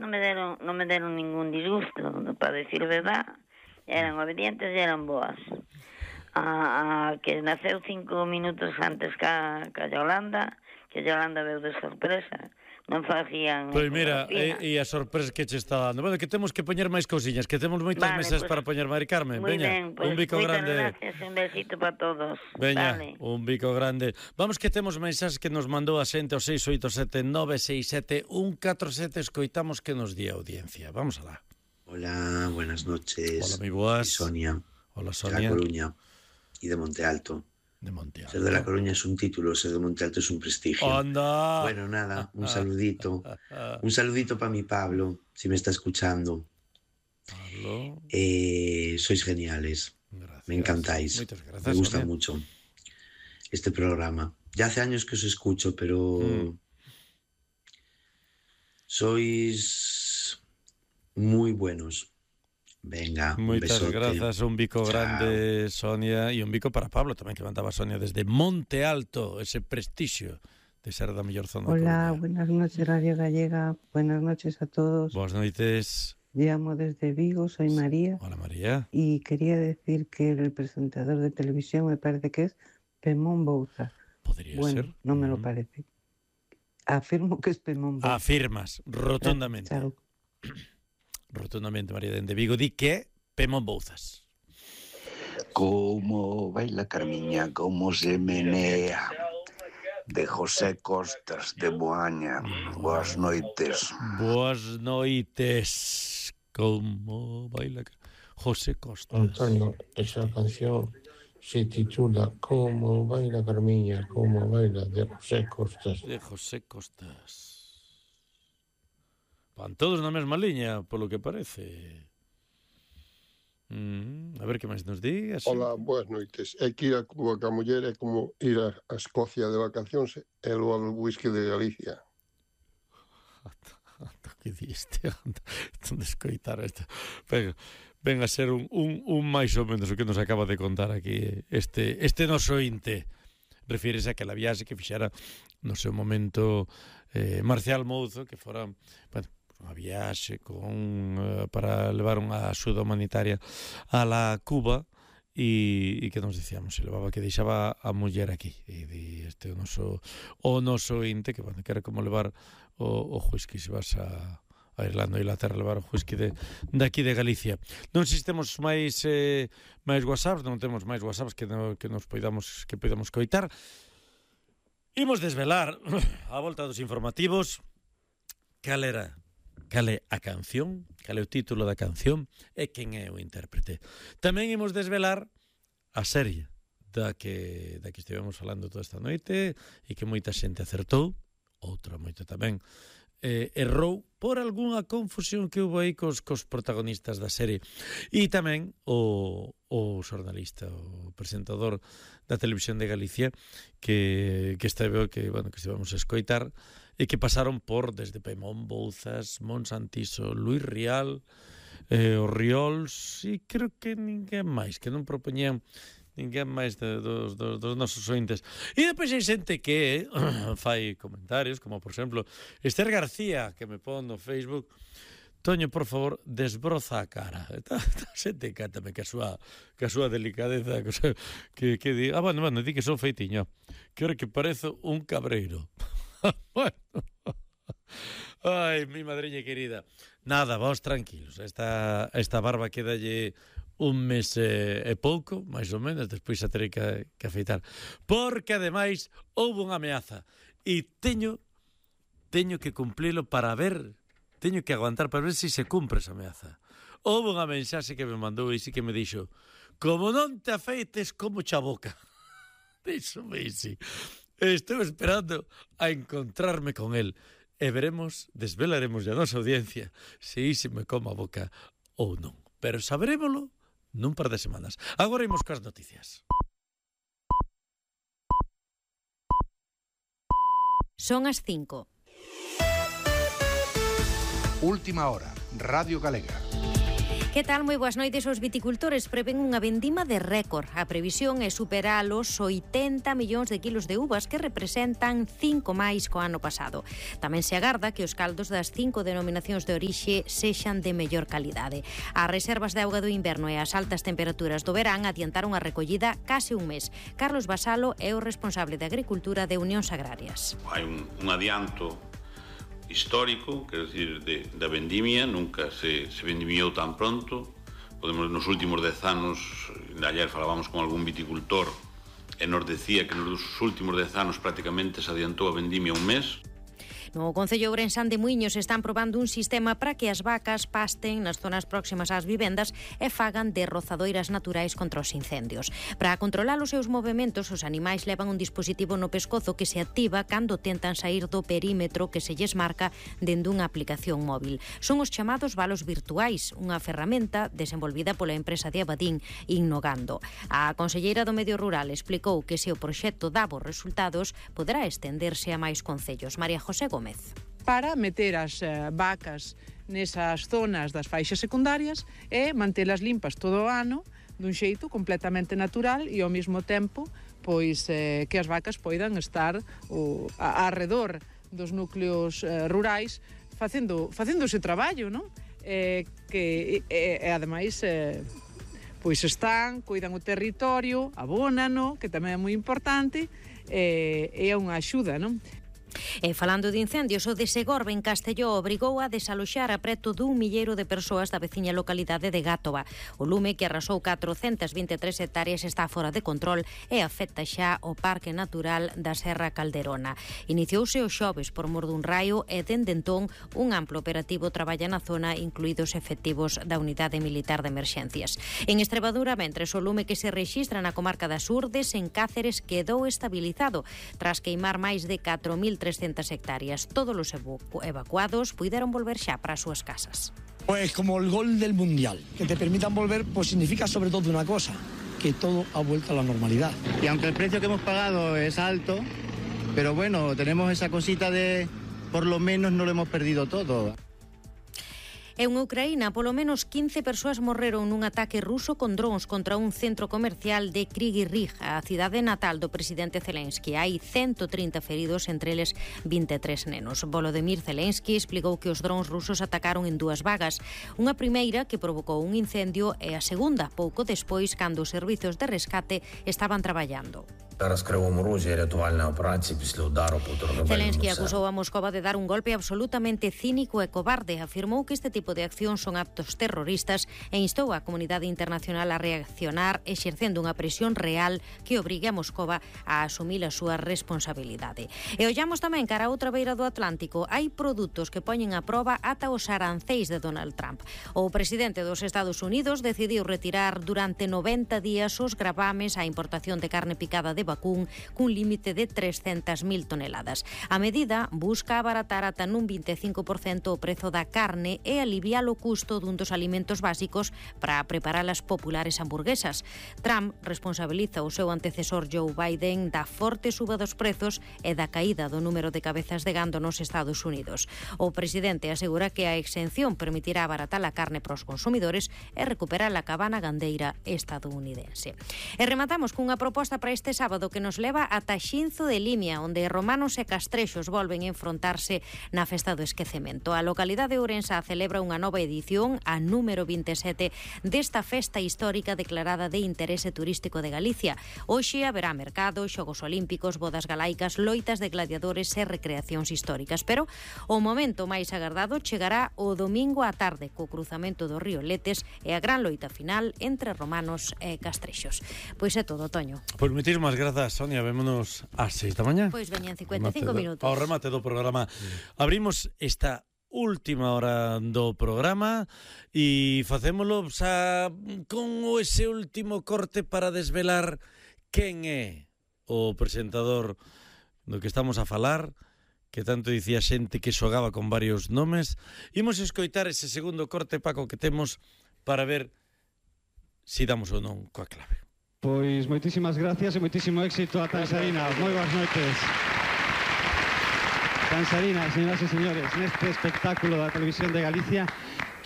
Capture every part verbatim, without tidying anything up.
non me deron, non me deron ningún disgusto, para decir verdad, eran obedientes e eran boas. A, a que naceu cinco minutos antes ca, ca Yolanda, que Yolanda veu de sorpresa, non facían... Pois mira, e, e a sorpresa que che está dando. Bueno, que temos que poñer máis cousiñas, que temos moitas vale, mesas pues, para poñer, Mari Carmen. Moi Veña, ben, pues, un bico grande. Gracias, un besito para todos. Veña, vale. un bico grande. Vamos que temos mensaxes que nos mandou a xente ao seis oito sete nove seis sete un catro sete. Escoitamos que nos di a audiencia. Vamos alá. Hola, buenas noches. Hola, mi boas. Soy Sonia. Hola, De Sonia. La Coruña y de Monte Alto. De Monte Alto. Ser de La Coruña es un título, ser de Monte Alto es un prestigio. ¡Anda! Bueno, nada, un saludito. Un saludito para mi Pablo, si me está escuchando. Pablo. Eh, sois geniales. Gracias. Me encantáis. Muchas gracias, me gusta Sonia. mucho este programa. Ya hace años que os escucho, pero Mm. sois muy buenos. Venga, Moitas un besote. grazas, un bico Chao. grande, Sonia, e un bico para Pablo tamén, que mandaba Sonia desde Monte Alto, ese prestixio de ser da mellor zona. Hola, buenas noches Radio Gallega, buenas noches a todos. Boas noites. Llamo desde Vigo, soy María. Hola, María. Y quería decir que el presentador de televisión me parece que es Pemón Bouza. Podría bueno, ser. no me lo Mm. parece. Afirmo que es Pemón Bouza. Afirmas, rotundamente. Chao. Rotundamente, María dende Vigo, di que Pemón Bouzas. Como baila Carmiña, como se menea. De José Costas, de Boaña. Boas noites. Boas noites. Como baila José Costas. Antonio, esa canción se titula Como baila Carmiña, como baila, de José Costas. De José Costas. Van todos na mesma liña, polo que parece. Mm, a ver que máis nos digas. Hola, boas noites. É que ir a Cuba ca muller é como ir a, a Escocia de vacacións e logo ao whisky de Galicia. Ata que diste, anda, de escoitar esta. Venga, ven a ser un, un, un máis ou menos o que nos acaba de contar aquí este, este noso inte. Refírese a aquela viaxe que fixera no seu momento eh, Marcial Mouzo, que fora, bueno, unha viaxe con, uh, para levar unha axuda humanitaria a la Cuba e, e que nos dicíamos, se levaba que deixaba a muller aquí e di este o noso o noso inte, que, bueno, que era como levar o, o whisky se vas a a Irlanda e Inglaterra, levar o whisky de, de aquí de Galicia. Non existemos máis eh, máis WhatsApps, non temos máis WhatsApps que, no, que nos poidamos que poidamos coitar. Imos desvelar a volta dos informativos cal era cal é a canción, cal é o título da canción e quen é o intérprete. Tamén imos desvelar a serie da que, da que estivemos falando toda esta noite e que moita xente acertou, outra moita tamén eh, errou por algunha confusión que houve aí cos, cos protagonistas da serie. E tamén o, o xornalista, o presentador da Televisión de Galicia que, que esteve, que, bueno, que estivemos a escoitar e que pasaron por desde Pemón Bouzas, Monsantiso, Luis Rial, eh, os Riols e creo que ninguén máis, que non propoñían ninguén máis de, dos, dos, dos nosos ointes. E depois hai xente que fai comentarios, como por exemplo Esther García, que me pon no Facebook: Toño, por favor, desbroza a cara. Está xente cántame que a súa, que a súa delicadeza, que, que di, ah, bueno, bueno, di que son feitiño, que ora que parezo un cabreiro. Bueno, ai, mi madriña querida, nada, vos tranquilos, esta, esta barba quedalle un mes e, e pouco, máis ou menos, despois a terei que, que afeitar, porque ademais houve unha ameaza e teño teño que cumplilo para ver, teño que aguantar para ver se si se cumpre esa ameaza. Houve unha mensaxe que me mandou e si que me dixo: como non te afeites, como cha boca. Díxome isi. Estou esperando a encontrarme con él e veremos, desvelaremos a nosa audiencia se isi me coma a boca ou non. Pero saberémolo nun par de semanas. Agora imos coas noticias. Son as cinco. Última hora, Radio Galega. Que tal? Moi boas noites. Os viticultores prevén unha vendima de récord. A previsión é superar os oitenta millóns de kilos de uvas, que representan cinco máis co ano pasado. Tamén se agarda que os caldos das cinco denominacións de orixe sexan de mellor calidade. As reservas de auga do inverno e as altas temperaturas do verán adiantaron a recollida case un mes. Carlos Basalo é o responsable de Agricultura de Unións Agrarias. Hai un, un adianto histórico, quero dicir, de, da vendimia, nunca se, se vendimiou tan pronto. Podemos, nos últimos dez anos, ayer falábamos con algún viticultor e nos decía que nos últimos dez anos prácticamente se adiantou a vendimia un mes. No Concello Ourensán de Muiños están probando un sistema para que as vacas pasten nas zonas próximas ás vivendas e fagan de rozadoiras naturais contra os incendios. Para controlar os seus movementos, os animais levan un dispositivo no pescozo que se activa cando tentan sair do perímetro que se lles marca dende unha aplicación móvil. Son os chamados valos virtuais, unha ferramenta desenvolvida pola empresa de Abadín Innogando. A conselleira do Medio Rural explicou que se o proxecto dá bons resultados, poderá estenderse a máis concellos. María José Gómez. Para meter as eh, vacas nesas zonas das faixas secundarias e mantelas limpas todo o ano dun xeito completamente natural e ao mesmo tempo pois eh, que as vacas poidan estar o, a, arredor dos núcleos eh, rurais facendo, facendo ese traballo, non? Eh, que e, e ademais eh, pois están, cuidan o territorio, abónano, que tamén é moi importante, e eh, é unha axuda, non? E falando de incendios, o de Segorbe en Castelló obrigou a desaloxar a preto dun milleiro de persoas da veciña localidade de Gátova. O lume, que arrasou catrocentas vinte e tres hectáreas, está fora de control e afecta xa o Parque Natural da Serra Calderona. Iniciouse o xoves por mor dun raio e dende entón un amplo operativo traballa na zona, incluídos efectivos da Unidade Militar de Emerxencias. En Estremadura, mentres, o lume que se rexistra na comarca das Urdes, en Cáceres, quedou estabilizado tras queimar máis de catro mil trescentas hectáreas. Todos os evacuados puideron volver xa para as súas casas. Pues como el gol del Mundial, que te permitan volver, pues significa sobre todo una cosa, que todo ha vuelto a la normalidad. Y aunque el precio que hemos pagado es alto, pero bueno, tenemos esa cosita de por lo menos no lo hemos perdido todo. En Ucraína, polo menos quince persoas morreron nun ataque ruso con drons contra un centro comercial de Kryvyi Rih, a cidade natal do presidente Zelensky. Hai ciento trinta feridos, entre eles vinte e tres nenos. Volodymyr Zelensky explicou que os drons rusos atacaron en dúas vagas. Unha primeira que provocou un incendio e a segunda pouco despois, cando os servizos de rescate estaban traballando. Zelensky acusou a Moscova de dar un golpe absolutamente cínico e cobarde. Afirmou que este tipo de accións son actos terroristas e instou a comunidade internacional a reaccionar exercendo unha presión real que obrigue a Moscova a asumir a súa responsabilidade. E ollamos tamén cara a outra beira do Atlántico. Hai produtos que poñen a proba ata os aranceis de Donald Trump. O presidente dos Estados Unidos decidiu retirar durante noventa días os gravames á importación de carne picada de vacún cun límite de trescentas mil toneladas. A medida busca abaratar ata nun vinte e cinco por cento o prezo da carne e aliviar o custo dun dos alimentos básicos para preparar as populares hamburguesas. Trump responsabiliza o seu antecesor Joe Biden da forte suba dos prezos e da caída do número de cabezas de gando nos Estados Unidos. O presidente asegura que a exención permitirá abaratar a carne para os consumidores e recuperar a cabana gandeira estadounidense. E rematamos cunha proposta para este sábado que nos leva ata Xinzo de Limia, onde romanos e castrexos volven a enfrontarse na festa do esquecemento. A localidade de Ourense celebra unha nova edición, a número vinte e sete, desta festa histórica declarada de interese turístico de Galicia. Hoxe haberá mercado, xogos olímpicos, bodas galaicas, loitas de gladiadores e recreacións históricas. Pero o momento máis agardado chegará o domingo á tarde, co cruzamento do río Letes e a gran loita final entre romanos e castrexos. Pois é todo, Toño. Pois moitísimas grazas, Sonia. Vémonos ás seis da mañá. Pois veñan cincuenta e cinco minutos. Ao remate do programa. Abrimos esta última hora do programa e facémolo xa con ese último corte para desvelar quen é o presentador do que estamos a falar, que tanto dicía xente que xogaba con varios nomes. Imos escoitar ese segundo corte, Paco, que temos para ver si damos ou non coa clave. Pois moitísimas gracias e moitísimo éxito a Tansarina. Moi boas noites. Tansarina, señoras e señores, neste espectáculo da Televisión de Galicia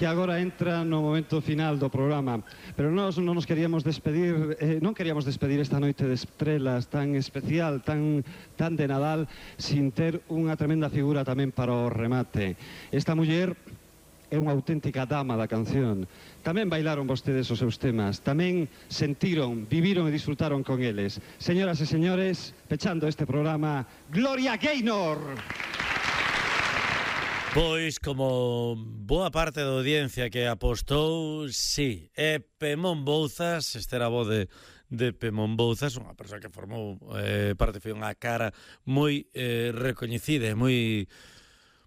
que agora entra no momento final do programa. Pero nós non nos queríamos despedir, eh, non queríamos despedir esta noite de estrelas tan especial, tan, tan de Nadal, sin ter unha tremenda figura tamén para o remate. Esta muller é unha auténtica dama da canción. Tamén bailaron vostedes os seus temas, tamén sentiron, viviron e disfrutaron con eles. Señoras e señores, pechando este programa, Gloria Gaynor! Pois, como boa parte da audiencia que apostou, sí, é Pemón Bouzas, este era a voz de, de Pemón Bouzas, unha persoa que formou eh, parte, foi unha cara moi eh, recoñecida e moi...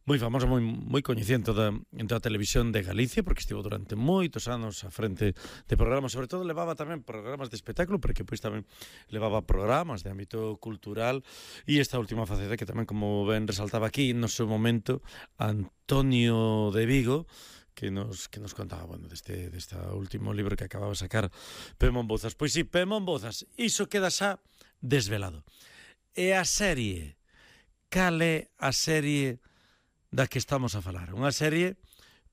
moi famosa, moi, moi coñecida toda, en toda a televisión de Galicia, porque estivo durante moitos anos a frente de programas, sobre todo levaba tamén programas de espectáculo, porque pois tamén levaba programas de ámbito cultural, e esta última faceta que tamén, como ben resaltaba aquí, no seu momento, Antonio de Vigo, que nos, que nos contaba, bueno, deste, deste último libro que acababa de sacar Pemón Bouzas. Pois sí, Pemón Bouzas, iso queda xa desvelado. E a serie, cal é a serie da que estamos a falar? Unha serie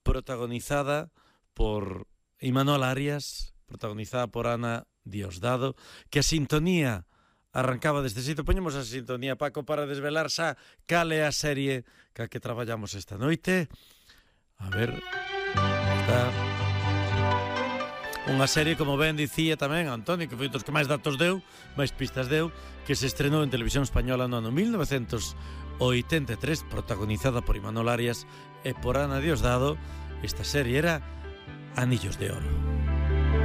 protagonizada por Imanol Arias, protagonizada por Ana Diosdado, que a sintonía arrancaba deste sitio. Poñemos a sintonía, Paco, para desvelar xa cal é a serie ca que traballamos esta noite. A ver, está unha serie, como ben dicía tamén Antonio, que foi dos que máis datos deu, máis pistas deu, que se estrenou en televisión española no ano mil novecentos oitenta e tres, protagonizada por Imanol Arias e por Ana Diosdado. Esta serie era Anillos de Oro.